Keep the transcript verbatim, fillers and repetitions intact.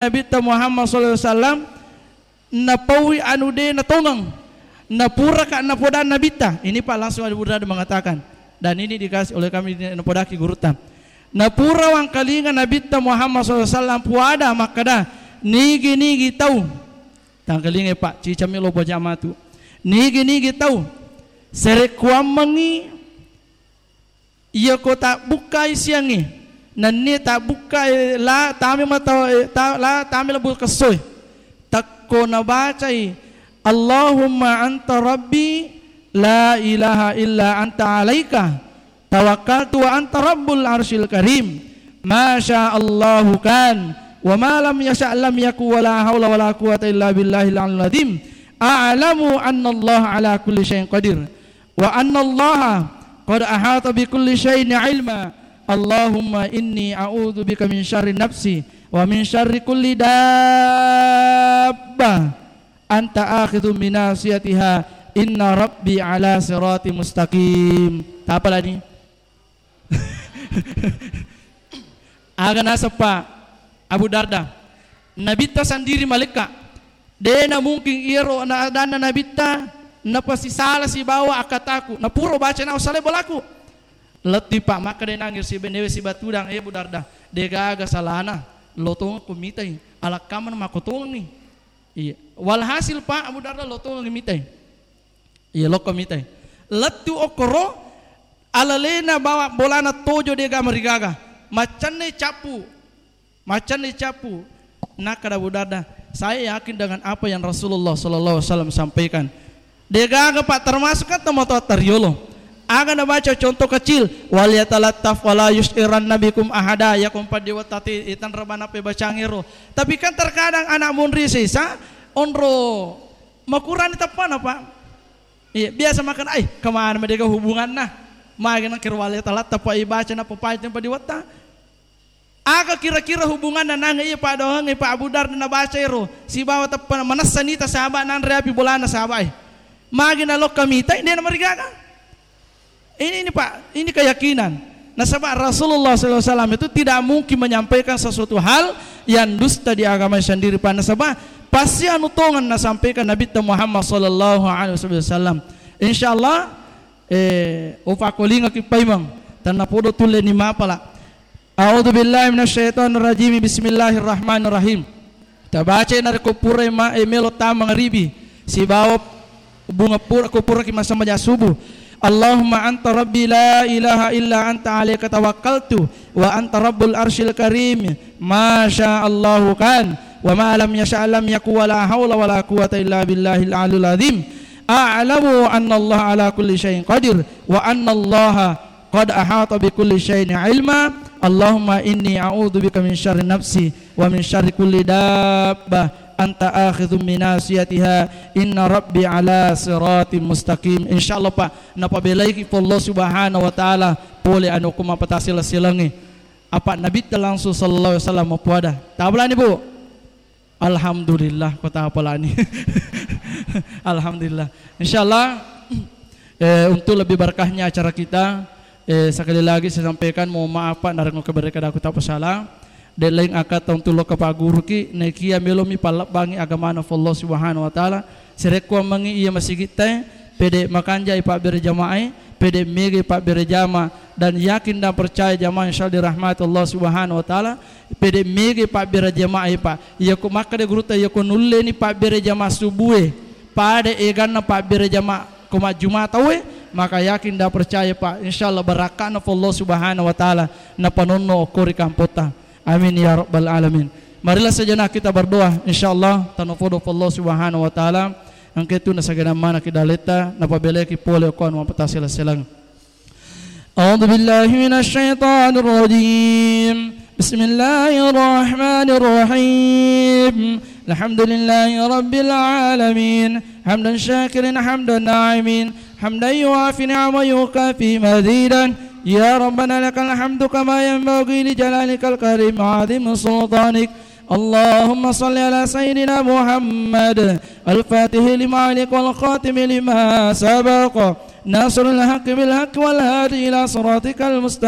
Nabitta Muhammad sallallahu alaihi wasallam, napaui anu de natongeng. Napuraka napoda Nabitta. Ini, Pak, langsung Abu Darda mengatakan. Dan ini dikasih oleh kami, napodaki gurutta. Napura wangkalinga Nabitta Muhammad sallallahu alaihi wasallam puada makkada, nigi-nigi tau. Tangkalinga, Pak, cicami lo bajamatu. Nigi-nigi tau. Serekkuammengi Iyako tabbukkai siangnge, nennia tabbukkai la tame mata, eh, ta-, la tame lebbu kessoe. Takko nabacai, "Allahumma anta rabbi la ilaha illa anta alaika tawakkaltu wa anta rabbul arsyil karim. Masya Allahu kan, wa ma lam yasha lam yaku, wa la haula wa la quwata illa billahil aliyil azim. A'lamu anna Allah ala kulli syai'in qadir." Wa annallaha qad ahata bi kulli syai'in ilma. Allahumma inni a'udzu bika min syarri nafsi wa min syarri kulli dabbah anta akhidzu bi nasiyatiha inna rabbi ala sirati mustaqim. Tapalani. Aga naseppa Abu Darda. Nabitta sandiri malekka. Dena mungkin iyaro na adanna Nabitta napasisala sibawa akkataku. Napuro baca nau salai bolaku. Lettipa makkeda nangi sibenewe sibatudang, eh, Abu Darda. Degaga salana. Lotongko mitai. Alakkamana makotongengi. Iya. Walhasil, Pak, Abu Darda lotongeng mitai. Iya, lokko mitai. Lettu okkoro, alalena bawa bolana tojo dega marigaga. Maccanne cappu. Maccanne cappu. Nakkeda Abu Darda, "Saya yakin dengan apa yang Rasulullah sallallahu alaihi wasallam sampaikan." Degaga, Pak, termasuk kan tomatoatta riolo. Aga nabaca contoh kecil, "Wal yatalattaf wala yusyiranna bikum ahada," ya kompa dewa tati itan rebana pe bacangero. Tapi kan terkadang anak munri sesa onro makurani teppana, Pak. Iya, biasa makan, "Ai, kemana madega hubunganna?" Magi nang kiro wale talatta, Pak, ibaca na papai tempa diwatta. Aga kira-kira hubunganna nang iya, Pak, doang, Pak Abu Darda nabaca ero sibawa teppa manessa nita sahabat nanre api bolana sahabat, eh. Magi na lokka mitai, dena marigaga. Ini, ini, Pak, ini keyakinan. Nasaba Rasulullah sallallahu alaihi wasallam itu tidak mungkin menyampaikan sesuatu hal yang dusta di agama sendiri, Pak. Nasaba pasti anu tongan nasampaikan Nabi Muhammad sallallahu alaihi wasallam. Insyaallah, eh, upakolingaki paimeng. Tanna podo tulle ni mapala. A'udzu billahi minasyaitonir rajim. Bismillahirrahmanirrahim. Tabaca narekko pura ma-, eh, melo tama mangaribi sibawa bunga pura, ko puraki massambajang subuh. Allahumma anta rabbi la ilaha illa anta alaika tawakkaltu wa anta rabbul arsyil karim. Masya Allahu kan, wa ma lam yasha lam yaku, wa la haula wa la quwata illa billahil aliyil azim. A'lamu anna Allah ala kulli syai'in qadir wa anna Allah qad ahata bi kulli syai'in ilma. Allahumma inni a'udzu bika min syarri nafsi wa min syarri kulli dabbah anta akhidhum bi nasiyatiha inna rabbi ala siratim mustaqim. Insyaallah, Pak, napabelaiki Allah Subhanahu wa Ta'ala pole anu ko mapatasilang-silangi. Apa Nabitta langsung sallallahu alaihi wasallam mapuada. Tabalani, Bu. Alhamdulillah, kota apalani. Alhamdulillah. Insyaallah, eh, untuk lebih berkahnya acara kita, eh, sekali lagi saya sampaikan mohon maaf, Pak, narekko kebereka daku tak salah. De laing akata untuk lo kepaguruki, nekia melomi palebbangi agamana Allah Subhanahu wa Ta'ala. Serekkuammengi iya masigitta, pede makanjai pabbere jamaah, pede mege pabbere jama, dan yakin dan percaya jamaah insyaallah dirahmati Allah Subhanahu wa Ta'ala. Pede mege pabbere jamaah, Pak. Iyako makkeda gurutta, iyako nulleni pabbere jamaah subue, pada eganna pabbere jamaah ko majjuma tauwe, maka yakin dan percaya, Pak, insyaallah barakka'na Allah Subhanahu wa Ta'ala napanonno okko ri kampotta. Amin ya rabbal alamin. Marilah sejenak kita berdoa, insyaallah tanopodo Allah Subhanahu wa Ta'ala. Engka tu nasagenang manaki daletta, napabeleki pole okko anu mapatasilang-silang. أعوذ بالله من الشيطان الرجيم. بسم الله الرحمن الرحيم. الحمد لله رب العالمين. حمدا شاكرا حمدا ناعمين. حمدا يوافي نعمه ويكافئ مزيدا. يا ربنا لك الحمد كما ينبغي لجلالك الكريم وعظيم سلطانك. اللهم صل على سيدنا محمد الفاتح لما أغلق والخاتم لما سبق ناصر الحق بالحق والهادي إلى صراطك المستقيم.